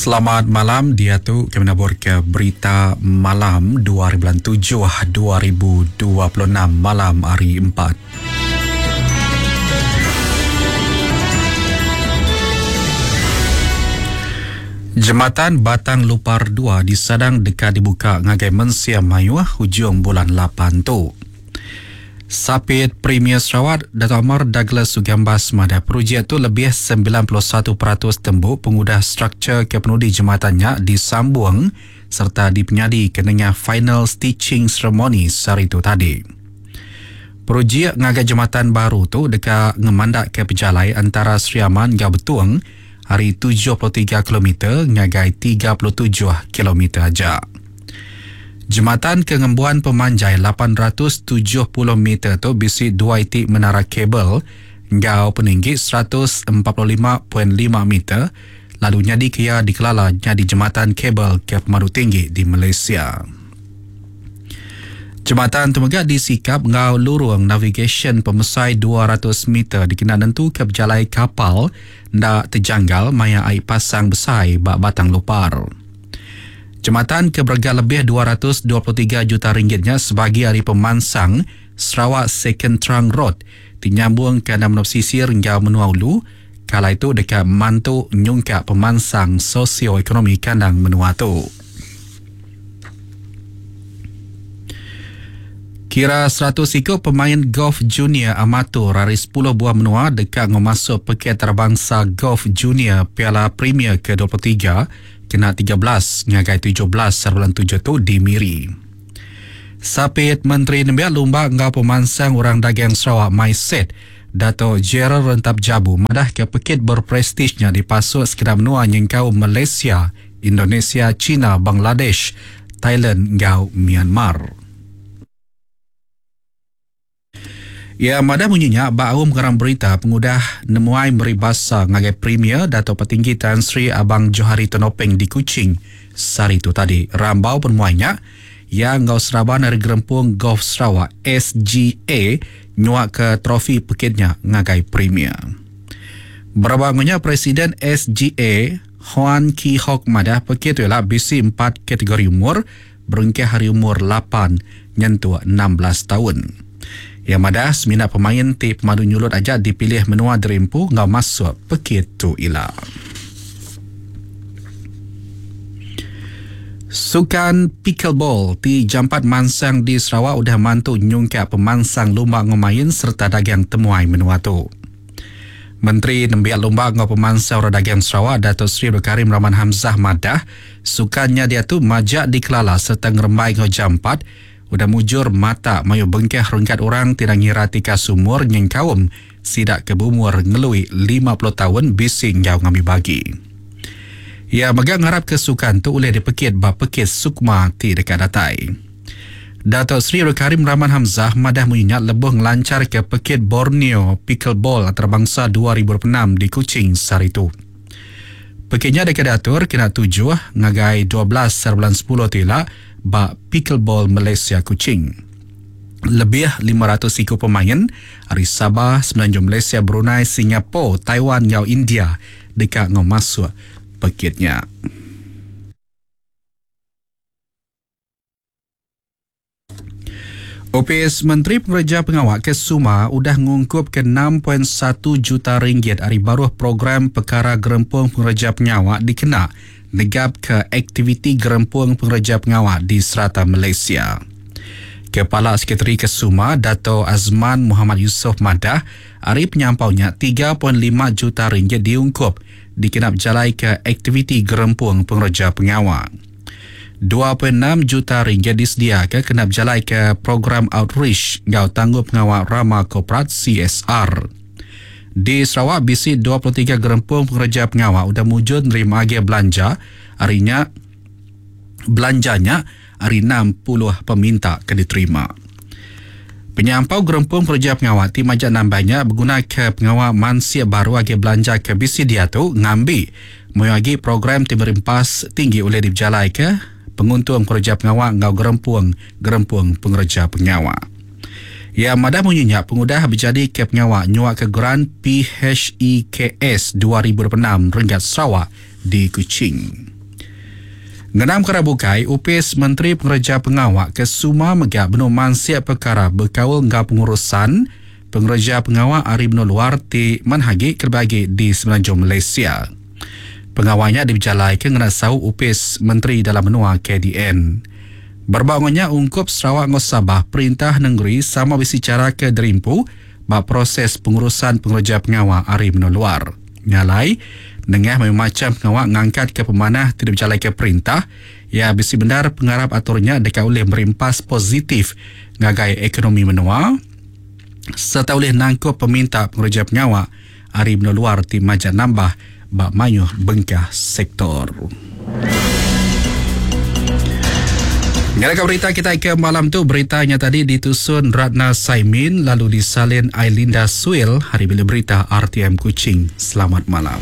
Selamat malam diatu kami nabur ke berita malam 2 hari bulan 7 2026 malam hari 4. Jematan Batang Lupar 2 disadang deka dibuka ngagai mensia mayuh hujung bulan 8 tu. Sapit Premier Sarawak, Datuk Amar Douglas Ugambas madah projek tu lebih 91% tembu pengudah struktur ke penudi jematan nya disambung sereta dipenyadi ke nengah final stitching ceremony sehari tu tadi. Projek ngaga jematan baru tu deka ngemandakka pejalai antara Sri Aman enggau Betong ari 73 kilometer ngagai 37 kilometer aja. Jematan ke ngembuan pemanjai 870 meter tu bisi dua iti menara kabel enggau peninggi 145.5 meter lalu nyadika iya dikelala nyadi jematan kabel ke pemadu tinggi di Malaysia. Jematan tu mega disikap enggau lurung navigasyen pemesai 200 meter dikena nentuka pejalai kapal enda tejanggal maya ai pasang besai ba Batang Lupar. Jematan ke berega lebih 223 juta ringgit nya sebagi ari pemansang Sarawak Second Trunk Road ti nyambung kandang menua pesisir enggau menua ulu, ke alai tu deka mantu nyungkak pemansang sosio-ekonomi kandang menua tu. Kira 100 iku pemain golf junior amatur ari 10 buah menua deka ngemasuk pekit antarabangsa golf junior Piala Premier ke-23 kena 13 ngagai 17 bulan 7 tu di Miri. Sapit Menteri Nembiak Lumba enggau Pemansang Orang Dagang Sarawak MySet, Dato Gerald Rentap Jabu madahka pekit berprestij nya dipasuk sekeda menua nyengkaum Malaysia, Indonesia, China, Bangladesh, Thailand enggau Myanmar. Iya madah munyi nya ba aum pengarang berita pengudah nemuai meri basa ngagai Premier Datuk Patinggi Tan Sri Abang Johari Tun Openg di Kuching sehari tu tadi. Rambau penemuai nya, iya enggau seraban ari Gerempung Golf Sarawak, SGA, nyuaka trofi pekit nya ngagai Premier. Beraba enggau nya, Presiden SGA, Hoan Kee Hock madah pekit tu ila bisi empat kategori umur berengkah ari umur lapan nyentuk 16 taun. Iya madah semina pemain ti pemadu nyulut aja dipilih menua diri empu enggau masuk pekit tu ila. Sukan pickleball ti jampat mansang di Sarawak udah mantu nyungkak pemansang lumba enggau main sereta dagang temuai menua tu. Menteri Nembiak Lumba enggau Pemansang Orang Dagang Sarawak Dato Sri Abdul Karim Rahman Hamzah madah, sukan nya diatu majak dikelala sereta ngerembai enggau jampat udah mujur matak mayuh bengkah renggat orang ti enda ngira tikas umur nyengkaum sida ke beumur ngelui 50 taun bisi enggau ngambi bagi. Iya mega ngarapka sukan tu ulih dipekit ba pekit Sukma ti deka datai. Dato Sri Abdul Karim Rahman Hamzah madah munyi nya lebuh ngelancharka Pekit Borneo Pickleball Antarabangsa 2026 di Kuching sehari tu. Pekit nya deka diatur kena tujuh ngagai 12 hari bulan 10 tu ila ba Pickleball Malaysia Kuching. Lebih 500 iku pemain ari Sabah, Semenanjung Malaysia, Brunei, Singapore, Taiwan enggau India deka enggau masuk pekit nya. Opis Menteri Pengereja Pengawa ke Suma udah ngungkupka 6.1 juta ringgit ari baruh program Pekara Gerempung Pengereja Pengawa dikena negapka aktiviti gerempung pengereja pengawa di serata Malaysia. Kepala Sekretari Kesuma Dato Azman Muhammad Yusof madah ari penyampau nya 3.5 juta ringgit diungkup dikena bejalaika aktiviti gerempung pengereja pengawa. 2.6 juta ringgit disediaka kena bejalaika program outreach enggau tanggungpengawa rama korporat CSR. Di Sarawak bisi 23 gerempung pengereja pengawa udah mujur nerima agih belanja ari nya belanja nya ari 60 peminta ke diterima. Penyampau gerempung pengereja pengawa ti majak nambah nya begunaka pengawa mansik baru agih belanja ke bisi diatu ngambi Mayuh agi program ti meri empas tinggi ulih dipejalaika penguntung pengereja pengawa enggau gerempung-gerempung pengereja pengawa. Iya madah munyi nya pengudah bejadika pengawa nyuaka geran PHEKS 2026 renggat Sarawak di Kuching. Ngenang pekara bukai, Opis Menteri Pengereja Pengawa ke Suma mega benung mansik pekara bekaul enggau pengurusan pengereja pengawa ari menua luar ti manah agi kelebih agi di Semenanjung Malaysia. Pengawa nya dipejalaika ngena saup Opis Menteri Dalam Menua, KDN. Berebak enggau nya, ungkup Sarawak enggau Sabah, perintah nengeri sama bisi chara ke dirimpu ba proses pengurusan pengereja pengawa ari menua luar. Nya alai, nengah mayuh macham pengawa ngangkatka pemanah ti dipejalaika perintah, iya bisi bendar pengarap atur nya deka ulih meri empas positif ngagai ekonomi menua sereta ulih nangkup peminta pengereja pengawa ari menua luar ti majak nambah ba mayuh bengkah sektor. Ngarapka berita kitai ke malam tu berita nya tadi ditusun Ratna Saimin lalu disalin Ailinda Suil hari Bilik Berita RTM Kuching. Selamat malam.